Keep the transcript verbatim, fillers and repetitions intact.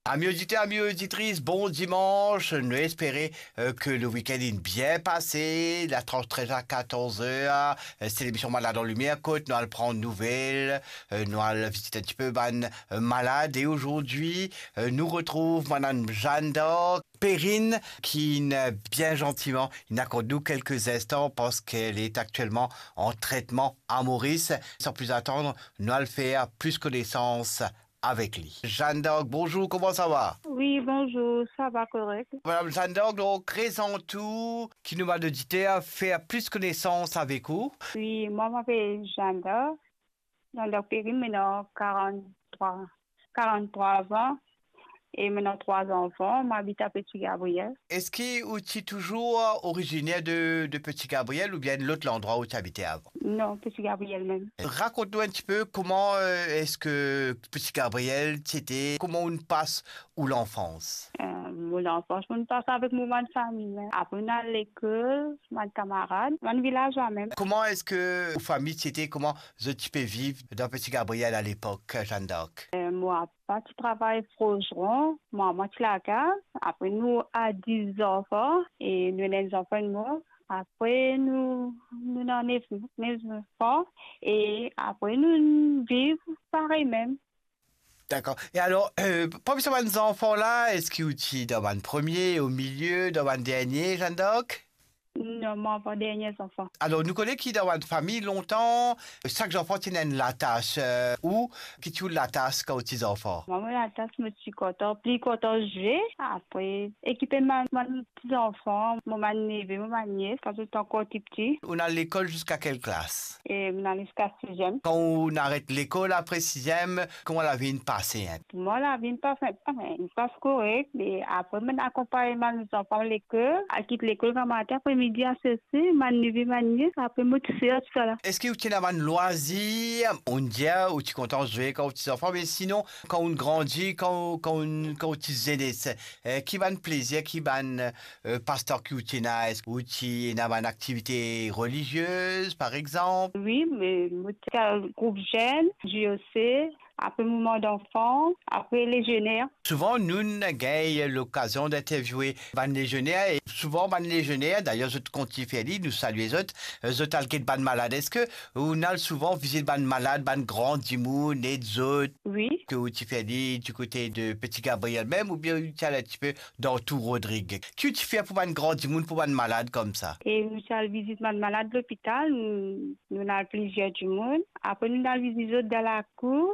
Ami oditer, ami oditris, bon dimans. Nou espere, eh, ke le wikenn inn bien pase. La trans trez a katorz er, eh, se lemision Malad an Limier kot nou al pran nouvel, eh, nou al vizit enn tipe bann, eh, malad. E azordi, eh, nou retrouv Madam Jeanne d'Arc Perrine, ki inn, eh, bien zantiman, inn akord nou kelke zinstan parski li aktielman an tretman a Moris. San plis atann, nou al fer plis konesans avek li. Jeanne d'Arc, bonzour, kouma sa va? Wi, bonzour, sa va korek. Madam Jeanne d'Arc, donk, prezant ou, ki nou bann oditer fer plis konesans avek ou. Wi, mwa, mo apel Jeanne d'Arc. Jeanne d'Arc Perrine, mo ena karant-trwa, karant-trwa an. E mo ena trwa zanfan, mo abit a Petit Gabriel. Eski ou ti touzour oriziner de, de Petit Gabriel oubien lot landrwa ou ti abite avan? Non, Petit Gabriel mem. Rakont nou enn tipe kouma, eh, eski Petit Gabriel ti ete, kouma ou pas ou lanfans? Eh, mo lanfans, mo pas avek mo bann fami, hein. Apre, nou al lekol, bann kamarad, bann vilazwa mem. Kouma eski ou fami ti ete, kouma zot ti pe viv dan Petit Gabriel alepok, Jeanne d'Arc? Eh, mo papa ti travay forzeron, mo mama ti lakaz, apre nou a dis zanfan, e nou ena enn zanfan inn mor, apre nou, nou ena nef, nef zanfan, e apre nou viv parey mem. Dakor. E alor, eh, parmi sa bann zanfan la, eski ou ti dan bann premie, omilie, dan bann dernie, Jeanne d'Arc? Non, mo avan dernie zanfan. Alor, nou kone ki dan bann fami lontan, sak zanfan ti ena enn latas, eh, ou ki ti ou latas kan ou ti zanfan? Mwa, mo latas, mo ti kontan, pli kontan zwe, apre ekipe bann, bann ti zanfan, mo bann neve, mo bann nies, kan zot ankor ti piti. Ou al lekol ziska kel klas? E mo al ziska siziem. Kan ou aret lekol apre siziem, kouma lavi inn pase, hein? Pou mwa, lavi inn pase, inn pas korek, me apre mo akonpagn bann zanfan lekol, al kit lekol gramatin, apre midi al sese, bann neve, bann nies, apre mo tousel, tousala. Eski ou ti ena bann lwazir? Ou dir ou ti kontan zwe kan ou ti zanfan, me sinon, kan ou grandi, kan ou, kan ou, kan ou ti zenes, eh, ki bann plezir, ki bann, eh, pastan ki ou ti ena? Eski ou ti ena bann aktivite reliziez, par exanp? Wi, me mo ti al group zenn, J O C, apre mouvman zanfan, apre lezioner. Souvan, nou, nou gagn lokazion interviewe bann lezioner, e souvan bann lezioner, dayer, zot kontign fer li, nou salie zot, eh, zot al get bann malad. Eski ou al souvan vizit bann malad, bann gran dimoun, ed zot? Wi. Eski ou ti fer li dikote de Petit Gabriel mem, oubien ou ti al enn tipe dan Tour Rodrig? Ki ou ti fer pou bann gran dimoun, pou bann malad koumsa? E nou ti al vizit bann malad lopital, nou, nou al plizier dimoun. Apre nou al vizit zot dan lakour,